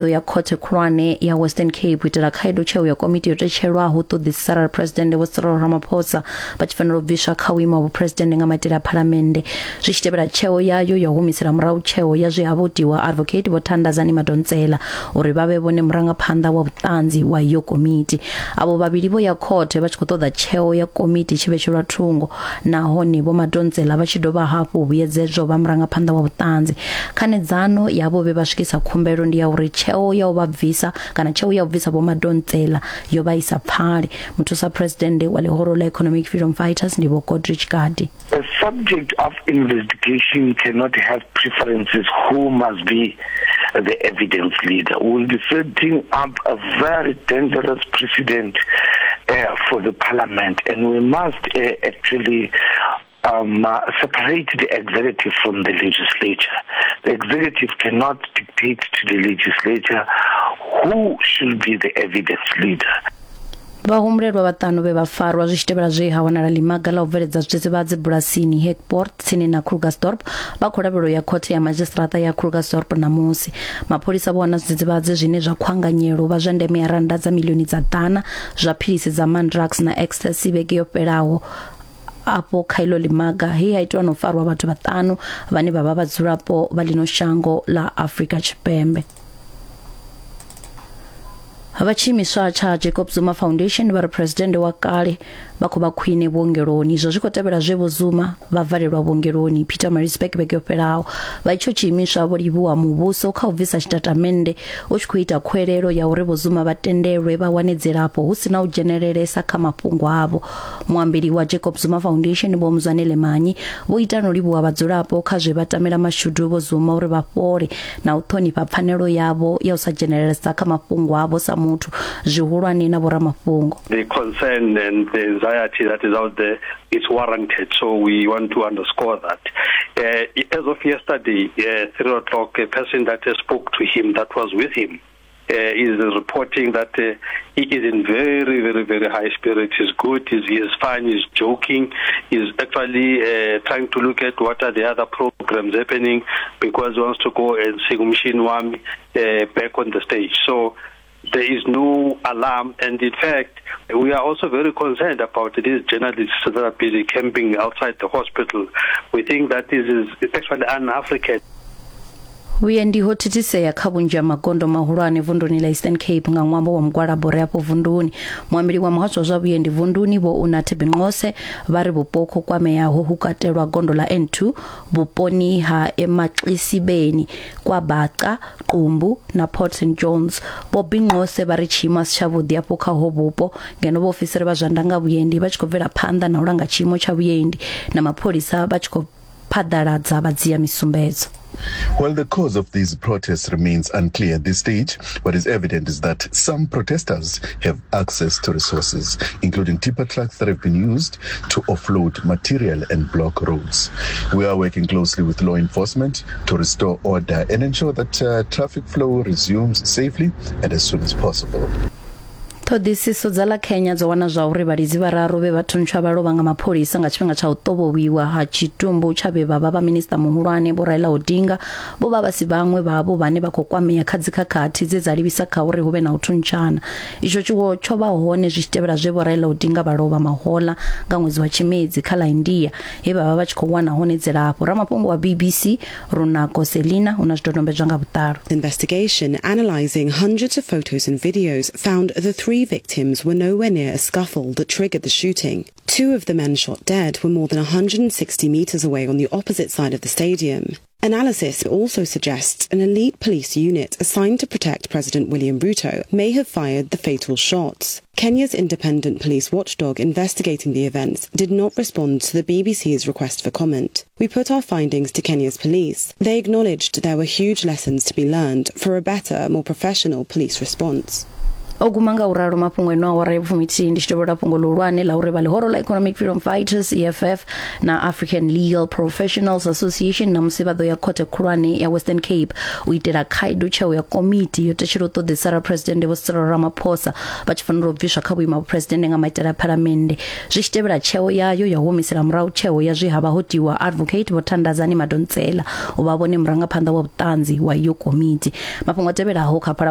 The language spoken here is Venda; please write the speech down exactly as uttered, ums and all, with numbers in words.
Ya khothe khulwane ya Western Cape u itela khaedu tsheo ya komiti yo tetshelwaho u ṱoḓisisa arali Phresidennde Vho Cyril Ramaphosa vha tshi fanela u bviswa kha vhuimo ha vhuphuresidennde nga maitele a phalamennde, zwi tshi tevhela tsheo yayo ya u humisela murahu tsheo ya zwe ha votiwa Advocate Vho Thandazani Madonsela uri vha vhe vhone murangaphanḓa wa vhuṱanzi wa iyo komiti. Avho vhavhili vho ya khothe vha tshi khou ṱoḓa tsheo ya komiti tshi vhetshelwa thungo, nahone Vho Madonsela vha tshi dovha hafhu vhuyedzedzwa vha murangaphanḓa wa vhuṱanzi. Khanedzano yavho vhe vha swikisa khumbelo ndi ya uri tsheo ya u vha bvisa kana tsheo ya u bvisa Vho Madonsela yo vha isa pfali. Muthusa president wa ḽihoro ḽa Economic Freedom Fighters ndi Vho Godrich Gardee. A subject of investigation cannot have preferences who must be the evidence leader. We will be setting up a very dangerous precedent uh, for the parliament, and we must uh, actually um, uh, separate the executive from the legislature. The executive cannot dictate to the legislature who should be the evidence leader. Vhahumbulelwa vhaṱanu vhe vha farwa zwi tshi tevhela zwe ha wanala ḽimaga ḽa u bveledza zwidzidzivhadzi bulasini Hekpoort tsini na Krugersdorp vha khou lavhelwa ya khothe ya madzhisiṱiraṱa ya Krugersdorp ṋamusi. Mapholisa vho wana zwidzidzivhadzi zwine zwa khwanganyelo vha zwa ndeme ya rannda dza milioni dza ḓana zwa philisi dza Mandrax na ecstasy vhege yo fhelaho afho kha ilo ḽimaga, he ha itiwa na u farwa vhathu vhaṱanu vhane vha vha vhadzulapo vha ḽino shango ḽa Afrika Tshipembe. Vha tshiimiswa tsha Jacob Zuma Foundation vha ri presidennde wa kale vha khou vha khwine vhuongeloni. Izwo zwi khou tevhela zwe Vho Zuma vha valelwa vhuongeloni Pietermaritzburg vhege yo fhelaho. Vha itsho tshiimiswa vho livhuwa muvhuso kha u bvisa tshitatamennde u tshi khou ita khuwelelo ya uri Vho Zuma vha tendelwe vha wane dzilafho hu si na u dzhenelelesa kha mafhungo avho. Muambeli wa Jacob Zuma Foundation Vho Mzwanele Manyi vho ita no livhuwa vhadzulapo kha zwe vha tamela mashudu Vho Zuma uri vha fhole na u ṱhonifha pfanelo yavho ya u sa dzhenelelesa kha mafhungo avho sa muthu, zwihulwane na vhoramafhungo. The concern and the anxiety that is out there is warranted, so we want to underscore that. Uh, as of yesterday, uh, three o'clock, a person that spoke to him, that was with him, uh, is reporting that uh, he is in very, very, very high spirits. He's good, he's, he's fine, he's joking, he's actually uh, trying to look at what are the other programs happening, because he wants to go and sing Umshini Wami uh, back on the stage. So there is no alarm, and in fact, we are also very concerned about these journalists that are busy camping outside the hospital. We think that this is actually un-African. Vhuendi ho thithisea kha vhunzhi ha magondo mahulwane vunduni ḽa Eastern Cape nga ṅwambo wa mugwalabo re afho vunduni. Muambeli wa muhasho wa zwa vhuendi vunduni Vho Unathi Binqose vha ri vhupo ho kwameaho hu katelwa gondo ḽa N two vhuponi ha Emaxisibeni, KwaBhaca, Qumbu na Port Saint John's. Vho Binqose vha ri tshiimo a si tshavhuḓi afho kha ho vhupo, ngeno vhaofisiri vha zwa ndanga vhuendi vha tshi khou bvela phanḓa na u langa tshiimo tsha vhuendi na mapholisa vha tshi khou phaḓaladza vhadzia misumbedzo. While the cause of these protests remains unclear at this stage, what is evident is that some protesters have access to resources, including tipper trucks that have been used to offload material and block roads. We are working closely with law enforcement to restore order and ensure that uh, traffic flow resumes safely and as soon as possible. Ṱhoḓisiso dza ḽa Kenya dzo wana zwa uri vhalidzi vhararu vhe vha thuntshwa vha lovha nga mapholisa nga tshifhinga tsha u ṱovhowiwa ha tshitumbu tsha vhe vha vha vha minisiṱa muhulwane Vho Raila Odinga vho vha vha si vhaṅwe vhavho vhane vha khou kwamea kha dzikhakhathi dze dza livhisa kha uri hu vhe na u thuntshana. Itsho tshiwo tsho vha hone zwi tshi tevhela zwe Vho Raila Odinga vha lovha mahoḽa nga ṅwedzi wa Tshimedzi kha ḽa India, he vha vha vha tshi khou wana hone dzilafho. Ramafhungo wa B B C Runako Selina u na zwidodombedzwa nga vhuḓalo. Investigation analyzing hundreds of photos and videos found the three victims were nowhere near a scuffle that triggered the shooting. Two of the men shot dead were more than one hundred sixty meters away on the opposite side of the stadium. Analysis also suggests an elite police unit assigned to protect President William Ruto may have fired the fatal shots. Kenya's independent police watchdog investigating the events did not respond to the B B C's request for comment. We put our findings to Kenya's police. They acknowledged there were huge lessons to be learned for a better, more professional police response. O guma nga u ralo mafhungo eno awara ya vhufumithihi. Ndi tshi tovhela fhungo ḽihulwane ḽa uri vha ḽihoro ḽa Economic Freedom Fighters E F F na African Legal Professionals Association namusi vha ḓo ya khothe khulwane ya Western Cape u itela khaedu tsheo ya komiti yo tetshela u ṱoḓisa arali Presidennde Vho Cyril Ramaphosa vha tshi fanela u bviswa kha vhuimo ha vhupresidennde nga maitele a phalamennde, zwi tshi tevhela tsheo yayo ya u humisela murahu tsheo ya zwe ha vha ho tiwa Advocate Vho Thandazani Madonsela u vha vhone murangaphanḓa wa vhuṱanzi wa iyo komiti. Mafhungo a tevhelaho kha Phalaphala.